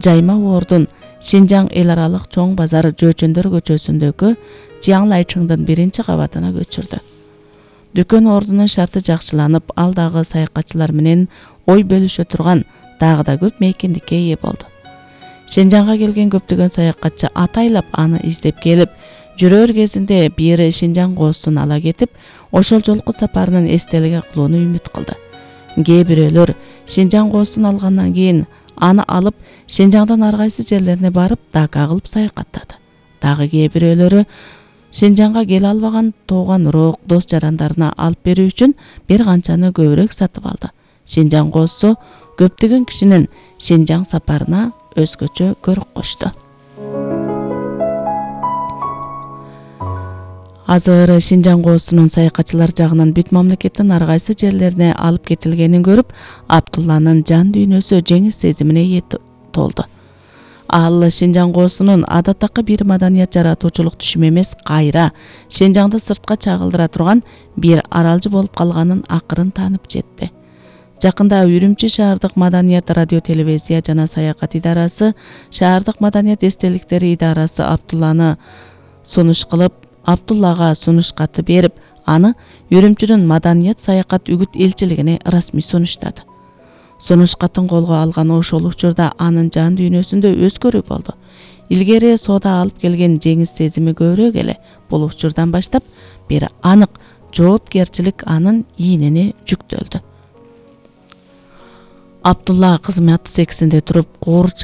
Жайма Ордун Шинжаң эл аралык чоң базар Жөөчөндөр көчөсүндөгү Жиаңлайчыңдын 1-кабатына көчүрдү. Дүкөн ордунун шарты жакшыланып, ал дагы саякатчылар менен ой бөлүшө турган дагы да көп мейкиндикке ээ болду. Шинжаңга келген көптөгөн саякатчы атайлап аны издеп келип, жүрөр кезинде бир Шинжаң коосун ала кетип, ошол жолку сапарынын эстелиги кылууну үмүт кылды. Кээ бирөөлөр Шинжаң коосун алгандан кийин аны алып Шинжаңдын ар кайсы жерлерине барып, дака кылып саякаттады. Дагы кээ бирөөлөрү Шинжаңга келе албаган тууган урок, дос жарандарына алып берүү үчүн бир канчаны көбүрөөк сатып алды. Шинжаң коосу көптөгөн кишинин Шинжаң сапарына өзгөчө көрк кочту. Азыр Шинжаң коосунун саякатчылар жагынан бүт мамлекеттин ар кайсы жерлерине алып кетилгенин көрүп, Абдулланын жан дүйнөсү жеңис сезимине ээ толду. Ал Шинжаң коосунун адаттакы бир маданият жаратуучулук түшүм эмес, кайра Шинжаңды сыртка чагылдыра турган бир аралжы болуп калганын акырын таанып жетти. Жакында Үрүмчү шаардык маданият радио телевизия жана саякат идарасы, шаардык маданият эстеликтери идарасы Абдуллага сунуш каты берип, аны Үрүмчүнүн маданият саякат үгүт элчилигине расмий сунуштады. Сунуш катын колго алган ошол учурда анын жан дүйнөсүндө өзгөрүү болду. Илгери соода алып келген жеңис сезими көбүрөөк эле, бул учурдан баштап бир анык жоопкерчилик анын ийнине жүктөлдү. Абдулла кызмат сексинде туруп,